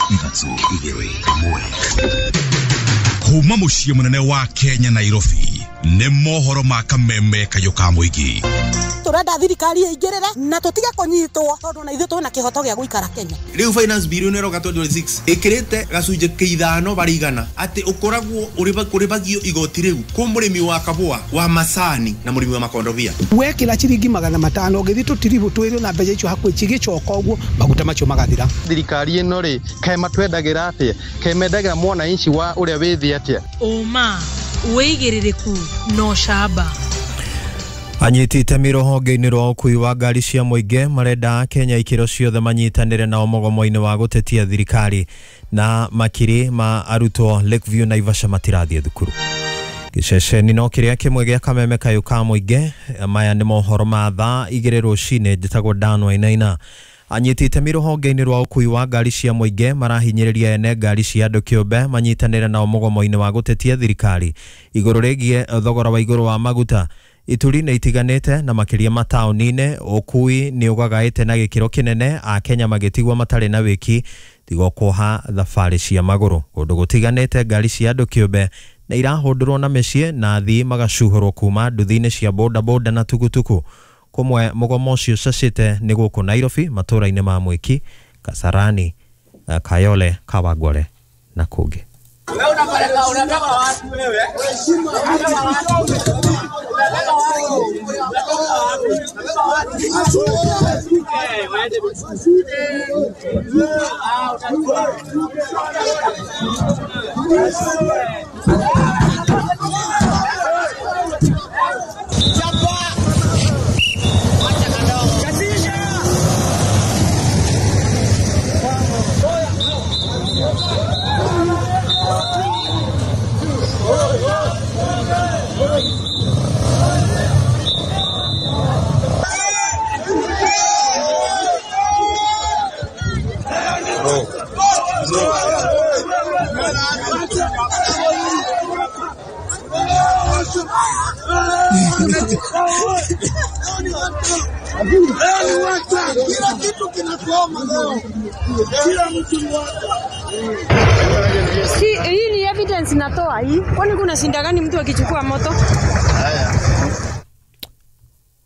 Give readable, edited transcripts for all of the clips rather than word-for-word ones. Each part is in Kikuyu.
3 2 1. Kuma mũciĩ mũnene wa Kenya Nairobi nĩ mohoro ma kameme kayũ ka mũingĩ. Tũrenda thirikari ĩingĩrĩre na tũtige kũnyitwo tondũ na ithuĩ twĩna kĩhoto gĩa gũikara Kenya. Rĩu finance bill ĩno ĩroka 2026 ĩkĩrĩte gacunjĩ kĩa 5 harĩ igana atĩ ũkoragwo ũrĩbagio igoti rĩu kwĩ mũrĩmi wa kabũa wa macani na mũrĩmi wa makondobia. Wekĩra ciringi 500 ũgĩthiĩ tũtiribũ twĩrĩ na mbeca icio hakuhĩ cigĩcoka ũguo maguta macio magathira. Thirikari ĩno rĩ kaĩ matwendagĩra atĩa, kaĩ mendagĩra mwananchi wa ũrĩa wĩ thĩ atĩa? Ũma, wĩigĩrĩrĩku na ũcamba. Anyiti itemi rũhonge-inĩ rwa ũkui wa ngari cia mũingĩ marenda Kenya ikĩro ciothe manyitanĩre nao mũgomo-inĩ wa gũtetia thirikari na makiri ma arutwo Lakeview Naivasha matirathiĩ thukuru. Gĩceceni no kĩrĩa kĩmwe gĩa kameme kayũ ka mũingĩ. Maya nĩ mohoro ma thaa 2 rũcinĩ. Njĩtagwo Dan Wainaina. Anyiti itemi rũhonge-inĩ rwa ũkui wa ngari cia mũingĩ marahinyĩrĩria ene ngari cia andũ kĩũmbe manyitanĩre nao mũgomo-inĩ wa gũtetia thirikari igũrũ rĩgiĩ thogora wa igũrũ wa maguta. Ituri nĩ itiganĩte na makĩria mataũni-inĩ ũkui nĩ ũgagaĩte na gĩkĩro kĩnene, Akenya magĩtigwo matarĩ na wĩki tigo kuoha thabarĩ cia magũrũ. Kũndũ gũtiganĩte ngari cia andũ kĩũmbe nĩ irahũndũrwo na mĩciĩ na athii magacuhũrwo kuma nduthi-inĩ cia bodaboda na tukutuku. Kũmwe mũgomo ũcio ũcacĩte nĩ gũkũ Nairobi matũũra-inĩ ma Mwiki, Kasarani, Kayole, Kawangware na kũngĩ. Si, hii ni evidence natoa hii. Kwani kuna shinda gani mtu akichukua moto?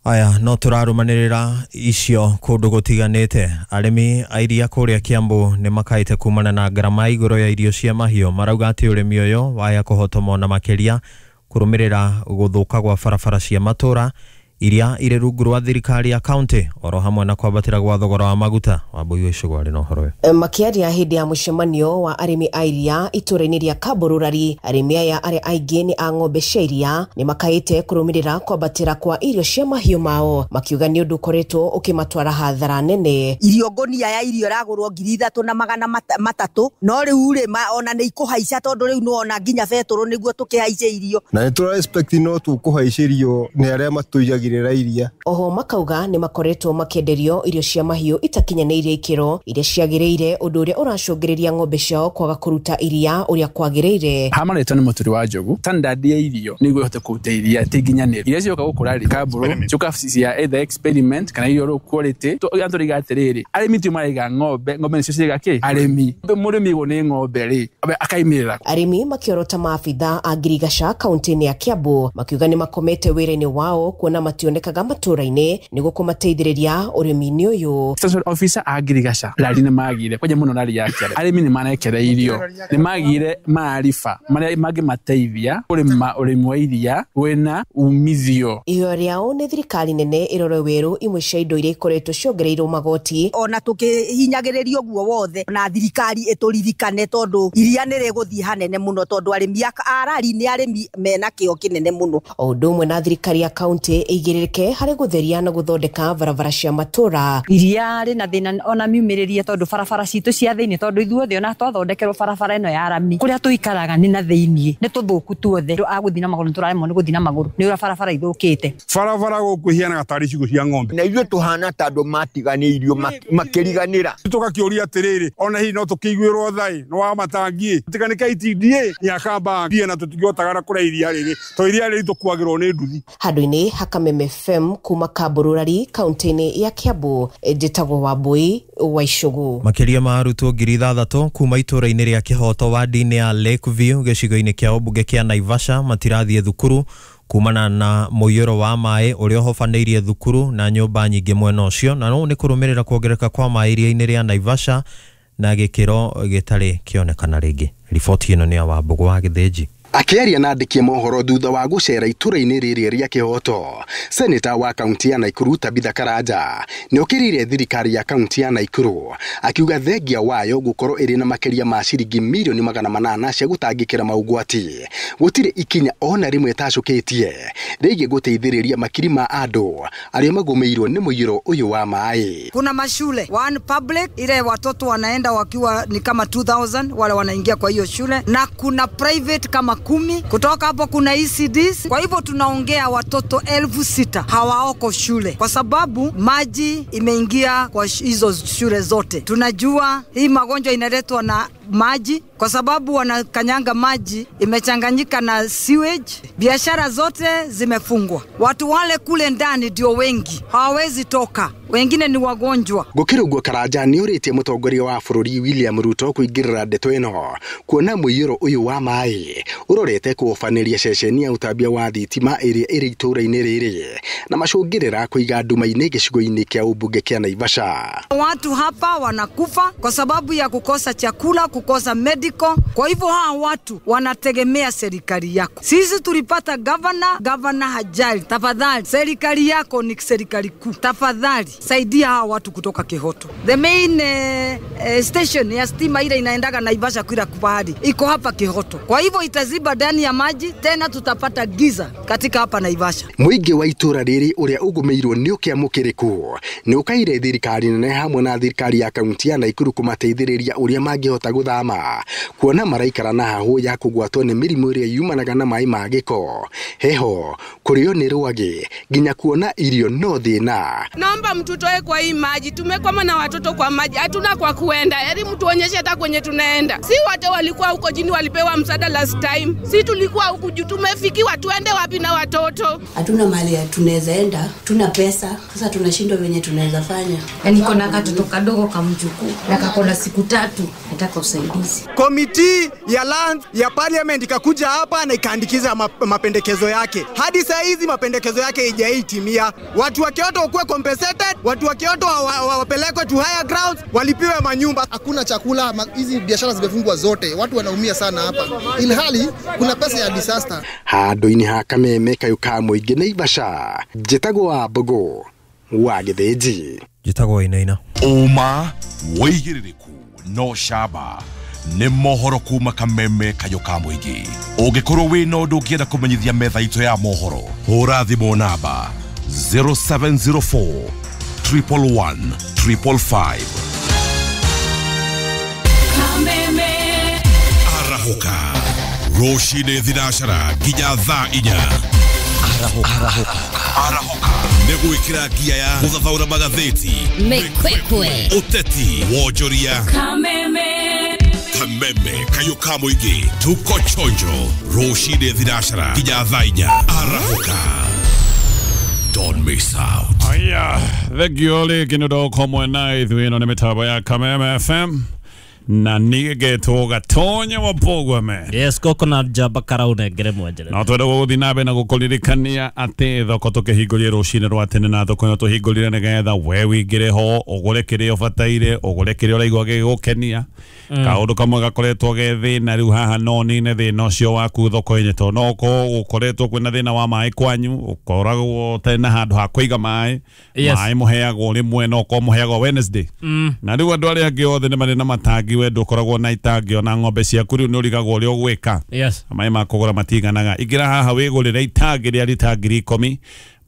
Aya, no tũrarũmanĩrĩra icio kũndũ gũtiganĩte. Arĩmi a iria kũrĩa Kiambu nĩ makaĩte kumana na ngarama igũrũ ya irio cia mahiũ. Marauga atĩ ũrĩmi ũyũ waya kũhotomwo na makĩria kũrũmĩrĩra gũthũka gwa barabara cia matũra iria irĩ rungu rwa thirikari ya kaunti oro hamwe na kwambatĩra gwa thogora wa maguta. Wambui wa Icũgũ arĩ na ũhoro ũyũ. Makĩaria hĩndĩ ya mũcemanio wa arĩmi a iria itũũra-inĩ rĩa Kamũrũrari, arĩmi aya arĩa aingĩ nĩ a ng'ombe cia iria nĩ makaĩte kũrũmĩrĩra kwambatĩra kwa irio cia mahiũ mao, makiuga nĩ ũndũ ũkoretwo ũkĩmatwara hathara nene. Irio ngũnia ya irio ĩragũrwo 3,300 no rĩu rĩ ona nĩ ikũhaica tondũ rĩu nĩwona nginya betũrũ nĩguo tũkĩhaice irio. Na nĩ tũra expect no tũkũhaicĩrio nĩ arĩa matũigagĩrĩra iria. Oho makauga nĩ makoretwo makĩenderio irio cia mahiũ itakinyanĩirie ikĩro iria ciagĩrĩire, ũndũ ũrĩa ũracũngĩrĩria ng'ombe ciao kwaga kũruta iria ũrĩa kwagĩrĩire. Hamarĩtwo nĩ mũturi wa njogu standard ya irio nĩguo ĩhote kũruta iria ti nginyanĩru. Iria cioka gũkũra rĩ kambũrũ ciũka cia either experiment kana irio low quality. Tũriga atĩrĩrĩ, arĩmi tio maraiga ng'ombe, ng'ombe nĩcio ciiga kĩ arĩmi. Mũrĩmi ũguo nĩ ng'ombe rĩ akaimĩrĩra. Arĩmi makĩorota maabitha a ngirigaca kaunti-inĩ ya Kiambu makiuga nĩ makomete wĩra-inĩ wao kuona mationekaga matũũra-inĩ nĩguo kũmateithĩrĩria ũrĩmi-inĩ ũyũ. Extension officer a ngirigaca rari nĩ magire kwanja mũno rari ya Kĩarĩ. Arĩmi nĩ marekereirio, nĩ magire maariba marĩa mangĩmateithia kũrĩma ũrĩmi wa iria wĩna umithio. Ihoya rĩao nĩ thirikari nene ĩrore werũ imwe cia indo iria ikoretwo ciongereirwo magoti. Ona tũkĩhinyagĩrĩrio ũguo wothe na thirikari ĩtũririkane tondũ iria nĩ rĩgũthiĩ hanene mũno tondũ arĩmi a rari nĩ arĩmi mena kĩo kĩnene mũno. O ũndũ ũmwe na thirikari ya kaunti ĩigĩrĩrĩke harĩ gũtheria na gũthondeka barabara cia matũũra. Iria rĩna thĩna ona miumĩrĩrie tondũ barabara citũ cia thĩinĩ tondũ ithuothe ona twathondekerwo barabara ĩno ya rami kũrĩa tũikaraga nĩ na thĩinĩ nĩ tũthũku tuothe. Andũ a gũthiĩ na magũrũ nĩtũraremwo nĩ gũthiĩ na magũrũ nĩ ũrĩa barabara ithũkĩte. Barabara gũkũ ihianaga tarĩ ciugũ cia ng'ombe. Na ithuĩ tũhana ta andũ matiganĩirio makĩriganĩra. Tũgakĩũria atĩrĩrĩ, ona hihi no tũkĩiguĩrwo tha-ĩ, nĩ wa matangi-ĩ, tiga nĩ KTDA nĩ akamba na tũtingĩhotaga na kũrĩa iria rĩrĩ, to iria rĩrĩ tũkuagĩrwo nĩ nduthi. Handũ-inĩ ha kameme Kameme FM kuma Kabururari kaunti-inĩ ya Kiambu, njĩtagwo Wambui wa Icugu. Makĩria ma arutwo 6,000 kuma itũũra-inĩ rĩa Kĩhoto wadi-inĩ ya Lakeview gĩcigo-inĩ kĩa ũmbunge kĩa Naivasha matirathiĩ thukuru kumana na mũiyũro wa maĩ ũrĩa ũhobanĩirie thukuru na nyũmba nyingĩ mwena ũcio, na ũũ nĩ kũrũmĩrĩra kuongerereka kwa maĩ iria-inĩ rĩa Naivasha na gĩkĩro gĩtarĩ kĩonekana rĩngĩ. Riboti ĩno nĩ ya Wambũgũ wa Gĩthĩnji. Akĩaria na andĩki a mohoro thutha wa gũcera itũra-inĩ rĩrĩ rĩa Kĩhoto, seneta wa kaunti ya Naikuru Tabitha Karanja nĩokĩrĩire thirikari ya kaunti ya Naikuru akiuga thengia wayo gũkorwo ĩrĩ na makĩria ma ciringi mirioni 800 cia gũtangĩkĩra maũgwati gũtirĩ ikinya ona rĩmwe ĩtacũkĩtie rĩgiĩ gũteithĩrĩria makiri ma andũ arĩa magũmĩirwo nĩ mũiyũro ũyũ wa maĩ. Kuna mashule one public ile watoto wanaenda wakiwa ni kama 2000 wale wanaingia kwa hiyo shule, na kuna private kama 10. Kutoka hapo kuna ECDs. Kwa hivyo tunaongea watoto 6,000 hawaoko shule kwa sababu maji imeingia kwa hizo shule zote. Tunajua hii magonjwa inaletwa na maji kwa sababu wanakanyanga maji imechanganyika na sewage. Biashara zote zimefungwa. Watu wale kule ndani ndio wengi, hawawezi toka, wengine ni wagonjwa. Gũkĩrĩ ũguo Karanja nĩũrĩtie mũtongoria wa bũrũri William Ruto kũingĩrĩra ndeto ĩno kuona mũiyũro ũyũ wa maĩ ũrorete kũhobanĩria ceceni ya ũtambia wa thitima ĩrĩa ĩrĩ itũũra-inĩ rĩrĩ na macũngĩrĩra kũiga nduma-inĩ gĩcigo-inĩ kĩa ũmbunge kĩa Naivasha. Watu hapa wanakufa kwa sababu ya kukosa chakula, kukosa medical. Kwa hivyo hawa watu wanategemea serikali yako. Sisi tulipata governor, governor hajali. Tafadhali, serikali yako ni serikali kuu. Tafadhali, saidia hawa watu kutoka Kihoto. The main station ya stima ile inaendaga Naivasha kila kupahali iko hapa Kihoto. Kwa hivyo itaziba ndani ya maji, tena tutapata giza katika hapa Naivasha. Mũingĩ wa itũũra rĩrĩ ũrĩa ũgũmĩirwo nĩ ũkĩa mũkĩrĩku nĩ ũkaire thirikari nene hamwe na thirikari ya kaunti ya Naikuru kũmateithĩrĩria ũrĩa mangĩhota gũthama kuona maraikara na hahũ ya kũgwatwo nĩ mĩrimũ ĩrĩa yumanaga na maĩ ma gĩko, heho, kũrĩo nĩ rwagĩ nginya kuona irio no thĩna. Naomba mtutoe kwa hii maji, tumekwama na watoto kwa maji, hatuna kwa kuenda. Heri mtuonyeshe hata kwenye tunaenda. Si wote walikuwa huko jini walipewa msaada last time, si tulikuwa huku juu, tumefikiwa, tuende wapi na watoto? Hatuna mahali tunaweza enda, tuna pesa, sasa tunashindwa venye tunaweza fanya. Yaani kona katoto kadogo kamjukuu na kakona siku 3, nataka usaidizi. Komiti ya land ya parliament ikakuja hapa na ikaandikiza mapendekezo yake. Hadi saa hizi mapendekezo yake haijaitimia. Watu wa Kyoto wakuwe compensated, watu wa Kyoto wapelekwe to higher grounds, walipiwe manyumba. Hakuna chakula, hizi biashara zimefungwa zote, watu wanaumia sana hapa. Ilhali kuna pesa ya disaster. Handũ-inĩ ha Kameme kayũ ka mũingĩ Naivasha, njĩtagwo Wambũgũ wa Gĩthĩnji. Njĩtagwo Wainaina. Ũma wĩigĩrĩrĩku no camba nĩ mohoro kuma Kameme kayũ ka mũingĩ. Ũngĩkorwo wĩna ũndũ ũngĩenda kũmenyithia metha itũ ya mohoro, hũra thimũ namba 0704 111 555. Kameme Arahũka rũcinĩ thinacara nginya thaa 4. Arahũka nĩ gwĩkĩra ngia ya gũthathaũra magathĩti, Mekwekwe, ũteti, wonjoria. Kameme Kameme kayũ ka mũingĩ, tuko chonjo rũcinĩ thinacara nginya thaa 4. Arahũka, don't miss out. Aya, thengio rĩngĩ nĩ ũndũ wa gũkorwo na ithuĩ. Ĩno nĩ mĩtambo ya Kameme FM na nigetwo Gatonya wa Mbũgua. Yes, goko na njamba karaunengere mwenjere. No twende gũgũthiĩ na mbere na gũkũririkania atĩ thoko tũkĩhingũrire rũcinĩ rwa tene, na thoko ĩno tũhingũrire nĩgetha we wĩingĩre ho ũgũre kĩrĩa ũbataire, ũgũre kĩrĩa ũraigua gĩgũkenia. Kaũndũ kamwe gakoretwo ge thĩna rĩu haha no nine thĩna ũcio waku thoko-inĩ, tondũ no ũkorwo gũkoretwo kwĩna thĩna wa maĩ kwanyu, ũkoragwo ũtarĩ na handũ ha kũiga maĩ. Yes. Maĩ mũheagwo rĩmwe, no ũkorwo mũheagwo Wednesday. Na rĩu andũ arĩa angĩ othe nĩ marĩ na matangi, we ndũkoragwo na itangi ona ng'ombe ciaku, rĩu nĩ ũrigagwo ũrĩa ũgwĩka. Yes. Maĩ ma kũgũra matiganaga. Ingĩra haha wĩgũrĩre itangi rĩa rita 10,000,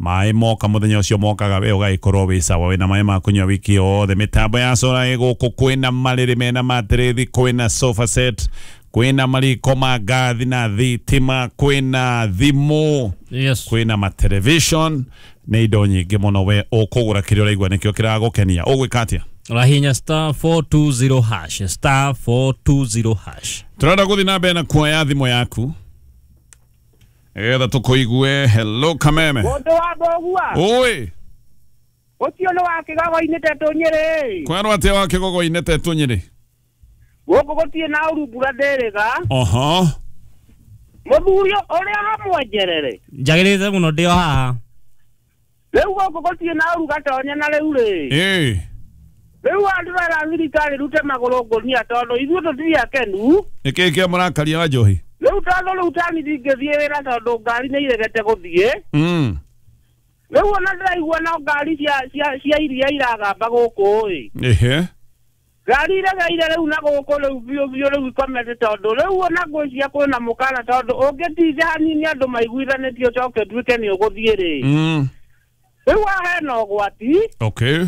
maĩ moka mũthenya ũcio mokaga we ũgagĩkorwo wĩ sawa, wĩna maĩ ma kũnyua wiki yothe. Mĩtambo ya solar ĩ gũkũ, kwĩna marĩrĩ mena matĩrĩthi, kwĩna sofa set, kwĩna mariko ma ngathi na thitima, kwĩna thimũ. Yes. Kwĩna ma television, nĩ indo nyingĩ mũno. We ũkũgũra kĩrĩa ũraigua nĩkĩo kĩragũkenia. Ũgwĩka atĩa? Ũrahihinya star 420 hash, star 420 hash. Tũrenda gũthiĩ na mbere na kuoya thimũ yaku. Nĩgetha tũkũigue. Hello Kameme. Mũndũ wa mbogua. Oi. Ũcio nĩ wa kĩgogo-inĩ Tetũ Nyĩrĩ. Kwerwo atĩa wa kĩgogo-inĩ Tetũ Nyĩrĩ? Gũkũ gũtirĩ na ũru mbura ndĩrĩga. Oho. Mũthuri ũrĩa ũramwenjerere. Njagĩrĩte mũno ndĩ o haha. Rĩu gũkũ gũtirĩ na ũru gatonya na rĩu rĩ. Ĩĩ. Rĩu andũ mera thirikari rute magũrũ ngũnia tondũ ithuĩ tũtirĩ akenu. Nĩkĩĩ kĩa mũrakaria wa njohi? Rĩu tondũ rĩu tani ndingĩthiĩ wĩra tondũ ngari nĩ iregete gũthiĩ. Rĩu ona ndĩraigua no ngari cia iria iragamba gũkũ ĩ. Ehe. Ngari iregeire rĩu na gũkũ rĩu biũ biũ rĩu ikomete tondũ rĩu ona ngwĩciria kwĩna mũkana tondũ ũngĩtinda hanini andũ maiguithanĩtie ũcoke ũtuĩke nĩ ũgũthiĩ rĩ. Rĩu haha hena ũgwati. Okay.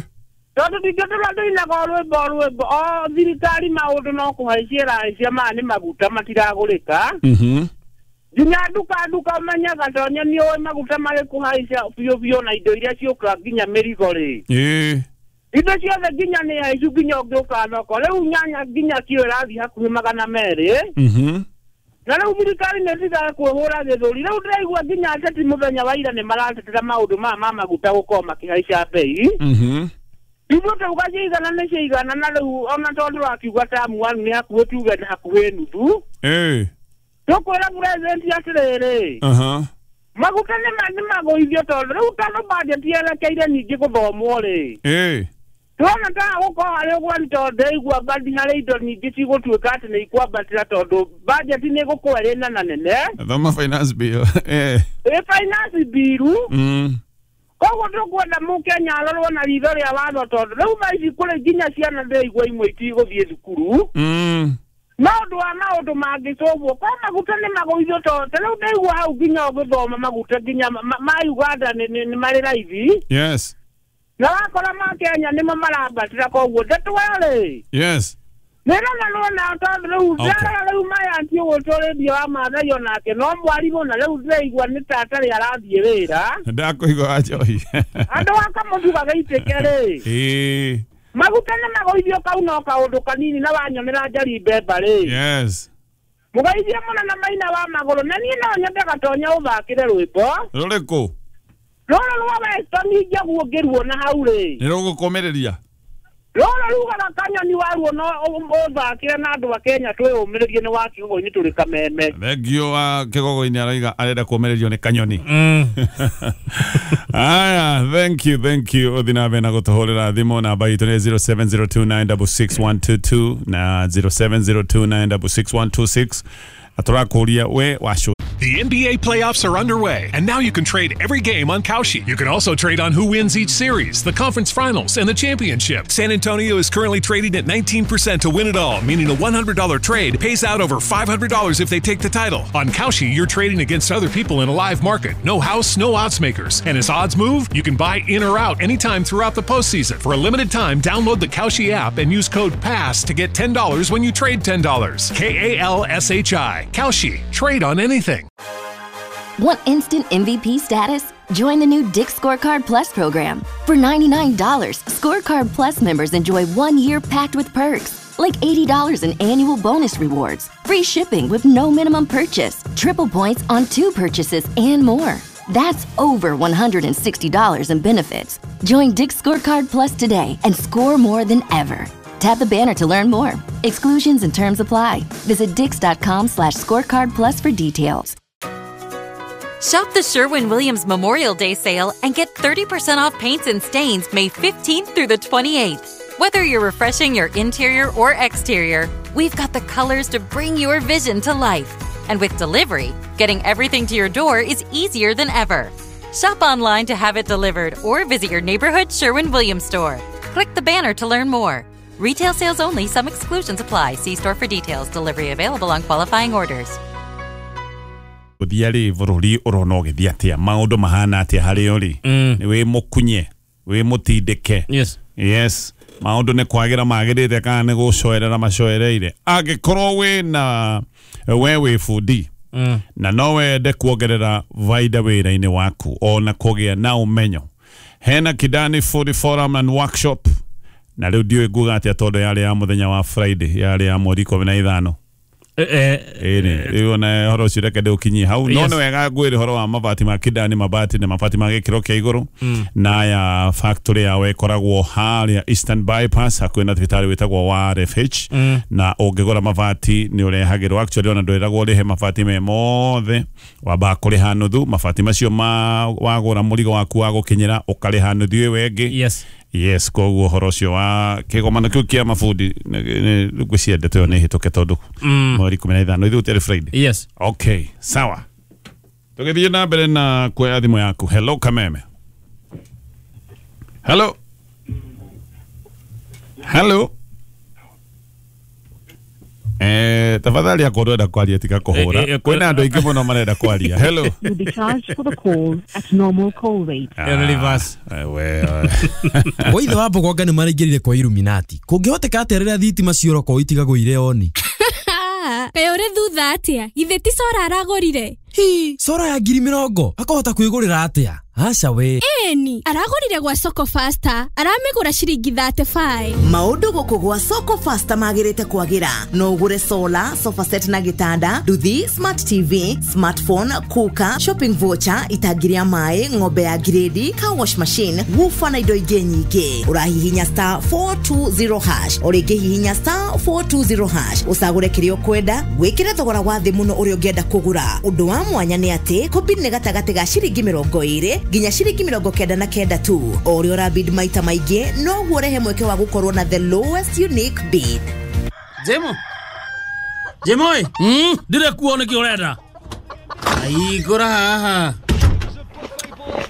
Tondũ ndingĩtũra ndĩinaga rwĩmbo o thirikari maũndũ no kũhaicia ĩrahaicia maya nĩ maguta matiragũrĩka. Nginya nduka ũmenyaga tonya nĩ ũĩ maguta marĩ kũhaica biũ biũ na indo iria ciũkaga nginya mĩrigo rĩ. Ĩĩ. Indo ciothe nginya nĩ haicu nginya ũngĩũka thoko rĩu nyanya nginya kiro ĩrathiĩ hakuhĩ 200. Na rĩu thirikari nĩ ĩtigaga kwĩhũra gĩthũri. Rĩu ndĩraigua nginya ateti mũthenya wa ira nĩ maratetera maũndũ maya ma maguta gũkorwo makĩhaica bei. Ithuĩ tauga ciaigana nĩ ciaigana na rĩu ona tondũ wakiuga tamu wanu nĩ hakuhĩ tuge nĩ hakuhĩ nuthu. Ĩĩ. Tũkwĩra president atĩrĩrĩ. Maguta nĩ magũithio tondũ rĩu tondũ budget yerekeire ningĩ gũthomwo rĩ. Ĩĩ. Tuona ta gũkorwo harĩ ũgwati tondũ ndĩraigua bandi harĩ indo nyingĩ cigũtuĩka atĩ nĩ ikwambatĩra tondũ budget nĩ ĩgũkorwo ĩrĩ nena nene. Thoma finance bill. Ĩĩ. Ĩ finance bill. Koguo tũkwenda mũkenya arorwo na ritho rĩa watho tondũ rĩu thaa ici kũrĩ nginya ciana ndĩraigua imwe itigũthiĩ thukuru. Maũndũ wa maũndũ mangĩcũgwo kwa maguta nĩ magũithio tondũ ta rĩu ndaigua hau nginya ũgĩthoma maguta nginya ma Uganda nĩ marĩ raithi. Yes. Na wakora ma Kenya nĩmo marambatĩra koguo ndeto rĩ. Yes. Nĩrona nona tondũ rĩu ndarora rĩu maya ti ũgũtwo rĩndio wa Maathai onake no mwarimũ na rĩu ndĩraigua nĩ ta atarĩ arathiĩ wĩra. Ndakũigua wa njohi. Andũ a kamũtu gagaitĩke rĩ. Ĩĩ. Maguta nĩ magũithio kau no kaũndũ kanini na wanyonera njari mbemba rĩ. Yes. Mũgeithie mũno na maina wa magũrũ na niĩ no nyende gatonya ũthakĩre rwĩmbo. Rũrĩkũ? Rũrũ rwa Weston njaguo ngĩruona hau rĩ. Nĩ rũgũkũmĩrĩria? Rũrũ rugaga kanyoni waruo no ũthakĩre na andũ a Kenya twĩyũmĩrĩrie nĩ wa kĩgogo-inĩ tũrĩ Kameme. Thengio wa kĩgogo-inĩ arauga arenda kũũmĩrĩrio nĩ kanyoni. Aya, thank you, thank you. Ũthiĩ na mbere na gũtũhũrĩra thimũ namba itũ nĩ 0702966122 na 0702966126. Na tũrakũria we wacũ. The NBA playoffs are underway, and now you can trade every game on Kalshi. You can also trade on who wins each series, the conference finals, and the championship. San Antonio is currently trading at 19% to win it all, meaning a $100 trade pays out over $500 if they take the title. On Kalshi, you're trading against other people in a live market. No house, no odds makers. And as odds move, you can buy in or out anytime throughout the postseason. For a limited time, download the Kalshi app and use code PASS to get $10 when you trade $10. K-A-L-S-H-I. Kalshi. Trade on anything. Want instant MVP status? Join the new Dick's Scorecard Plus program. For $99, Scorecard Plus members enjoy 1 year packed with perks, like $80 in annual bonus rewards, free shipping with no minimum purchase, triple points on 2 purchases, and more. That's over $160 in benefits. Join Dick's Scorecard Plus today and score more than ever. Tap the banner to learn more. Exclusions and terms apply. Visit dicks.com/scorecard plus for details. Shop the Sherwin-Williams Memorial Day sale and get 30% off paints and stains May 15th through the 28th. Whether you're refreshing your interior or exterior, we've got the colors to bring your vision to life. And with delivery, getting everything to your door is easier than ever. Shop online to have it delivered or visit your neighborhood Sherwin-Williams store. Click the banner to learn more. Retail sales only. Some exclusions apply. See store for details. Delivery available on qualifying orders. Gũthiĩ rĩ bũrũri ũrona ũgĩthiĩ atĩa, maũndũ mahana atĩa harĩ ũrĩ, nĩ wĩ mũkunye wĩ mũtindĩke? Yes. Yes, maũndũ nĩ kwagĩra magĩrĩte kana nĩ gũcoerera macoereire? Angĩkorwo wĩna we wĩ bundi na no wende kuongerera vaida wĩra-inĩ waku ona kũgĩa na ũmenyo, hena Kidani Food Forum and Workshop. Na rĩu ndiũĩ nguga atĩa tondũ yarĩ ya mũthenya wa Friday, yarĩ ya mweri 15. Ĩni rĩu ona horo ũcio reke ndĩũkinyie hau no nĩ wega ngwĩre horo wa mabati ma Kidani mabati na mabati ma gĩkĩro kĩa igũrũ na ya factory yao ĩkoragwo harĩa Eastern Bypass hakuhĩ na thibitarĩ wĩtagwo wa RFH na ũngĩgũra mabati nĩ ũrehagĩrwo actually ona ndwĩragwo ũrĩhe mabati me mothe wambaga kũrĩha nuthu mabati macio ma wagũra mũrigo waku wa gũkinyĩra ũkarĩha nuthu ĩyo ĩngĩ. Yes, koguo horo ũcio wa kĩgomano kĩu kĩa mabundi ngwĩciria ndeto ĩyo nĩ ĩhĩtũke tondũ mweri 15 ithuĩ tũrĩ Friday. Yes. Okay, sawa. Tũgĩthiĩ na mbere na kuoya thimũ yaku. Hello Kameme. Hello. Hello. Tafadhali akorwo ndwenda kwaria tiga kũhũra. Kwĩna andũ aingĩ mũno marenda kwaria. Hello. You'll be charged for the call at normal call rate. Waithe wa Mbogonga nĩ maraingĩrire kwa Illuminati. Kũngĩhoteka atĩa rĩrĩa thitima ciorokwo itigagwo irĩ oni? Kaĩ ũrĩ thutha atĩa? Githĩ ti cora aragũrire? Hi, cora ya 20,000 akahota kwĩgũrĩra atĩa? Aca we. Ĩni, aragũrire gwa Soko Faster, aramĩgũra ciringi 35. Maũndũ gũkũ gwa Soko Faster magĩrĩte kwagĩra. No ũgũre solar, sofa set na gĩtanda, nduthi, smart TV, smartphone, cooker, shopping voucher, itangi rĩa maĩ, ng'ombe ya grade, car wash machine, woofer na indo ingĩ nyingĩ. Ũrahihinya star 420 hash, o rĩngĩ hihinya star 420 hash, ũcagũre kĩrĩa ũkwenda, wĩkĩre thogora wa thĩ mũno ũrĩa ũngĩenda kũgũra. Ũndũ wa mwanya nĩ atĩ kũbid nĩ gatagatĩ ga ciringi 20 nginya ciringi 99 tu. O ũrĩa ũrabid maita maingĩ noguo ũrehe mweke wa gũkorwo na the lowest unique bid. Jemo Jemo ndire kuo nĩkĩ ũrenda? Aigũra haha.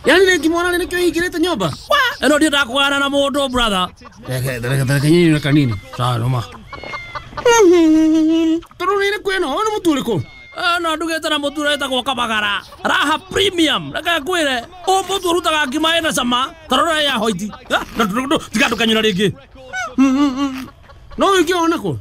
Yani nĩngĩmwona nĩkĩo hingĩrĩte nyũmba. Ĩno ndiendaga kũgana na mũndũ brother. Reke nyinyi kanini. Sawa noma. Tondũ nĩ kwĩna ona mũtu ũrĩkũ? No ndugĩte na mũtu ũretagwo Kabagara Raha Premium. Reke ngwĩre ũ mũtu ũrutaga ngima ĩna cama ta rora ya hoiti. Tiga ndũkanyũra rĩngĩ. No ũngĩona kũ?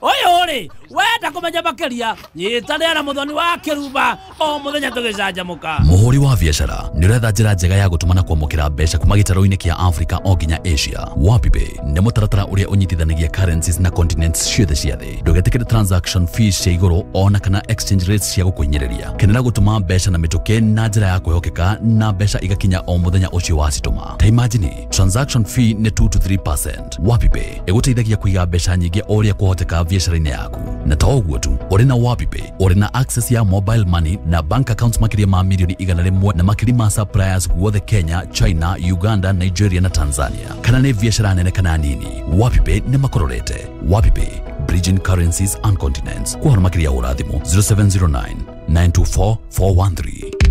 Ũyũ rĩ wenda kũmenya makĩria nyitanĩra na Mũthoni wa Kĩrumba o mũthenya tũgĩcanjamũka. Mũhũri wa biacara nĩ ũretha njĩra njega ya gũtũma na kwamũkĩra mbeca kuma gĩtarũ-inĩ kĩa Africa o nginya Asia. WapiPay nĩ mũtaratara ũrĩa ũnyitithanagia currencies na continents ciothe cia thĩ. Ndũgetĩkĩre transaction fees cia igũrũ ona kana exchange rates cia gũkũhinyĩrĩria. Kenera gũtũma mbeca na mĩtũkĩ na njĩra ya kwĩhokeka na mbeca igakinya o mũthenya ũcio wacitũma. Ta imagine transaction fee nĩ 2 to 3%. WapiPay ĩgũteithagia kũiga mbeca nyingĩ o ũrĩa kwahoteka biacara-inĩ yaku. Na ta ũguo tu, ũrĩ na WapiPay ũrĩ na access ya mobile money na bank accounts makĩria ma milioni 100 na makĩria ma suppliers guothe Kenya, China, Uganda, Nigeria na Tanzania. Kana nĩ biacara nene kana nini, WapiPay nĩ makororete. WapiPay, bridging currencies and continents. Kwa makĩria ũrathimũ 0709 924 413.